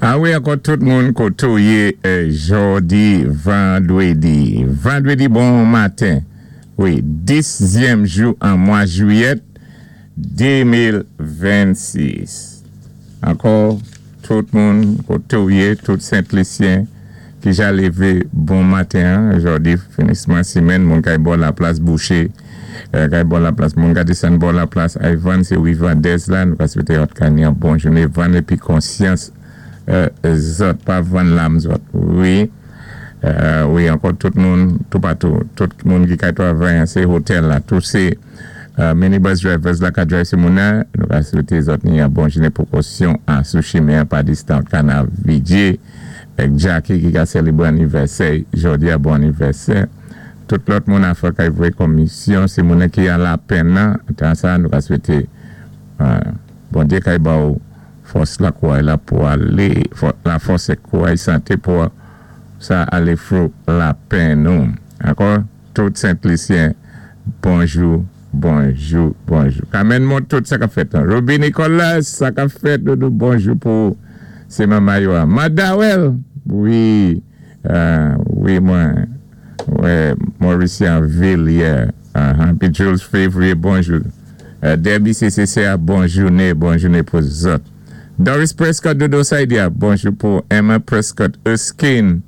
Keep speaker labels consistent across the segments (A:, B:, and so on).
A: A wi, ankò tout moun koté ou yé jòdi vandwédi. Vandwédi bon maten. Wi, 10ièm jou an mwa jwiyèt 2026. Ankò tout moun koté ou yé, tout Sent Lisyen ki ja lévé bon maten an, jòdi finisman simenn, moun kay bò laplas bouché, kay bò laplas, moun ka désann bò laplas ay vann, sé wi vandèz la, nou ka swété òt ka ni an bon jouné, vann épi konsyans zòt, pa vann lam zòt. Wi, wi, ankò tout moun toupatou, tout moun ki kay twavay an sé hotèl la, tou sé minibus drivers la ka drive sé moun nan, nou ka swété zòt ni an bon jouné, pwékosyon an sou chimen an pa distan kana vidjé èk Jackie ki ka sélébwé anivèsè jòdi a, bon anivèsè. Tout lòt moun afè kay voyé komisyon sé moun ki an lapenn nan tan sa, nou ka swété Bondyé kay ba ou fòs la, kouray la pou alé, la fòs èk kouray, santé pou sa alé through lapenn nou. Ankò tout Sent Lisyen, bonjou, bonjou, bonjou. Kamèn mont tout sa k ap fèt lan. Ruby Nicolas, sa k ap fèt, doudou, bonjou pou ou. Sé manma yo a. Madawèl! Wi, wi mwen wè Maurician Ville yè. Pi Jules Février, bonjou. Debbie CCC a, bon jouné, bon jouné pou zòt. Doris Prescott, dodo Saidia, bonjou pou Emma Prescott Erskine,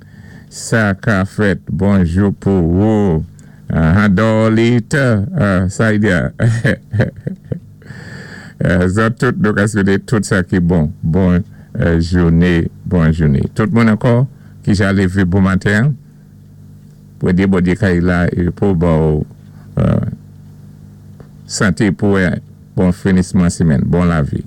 A: sa ka fèt, bonjou pou ou. Dorlita Saidia. Zòt tout nou ka swété tout sa ki bon. Bon jouné, bon jouné. Tout moun ankò ki ja lévé bon maten an, pwédé Bondyé kay la pou ba ou santé pou wè bon finisman simenn, bon lavi.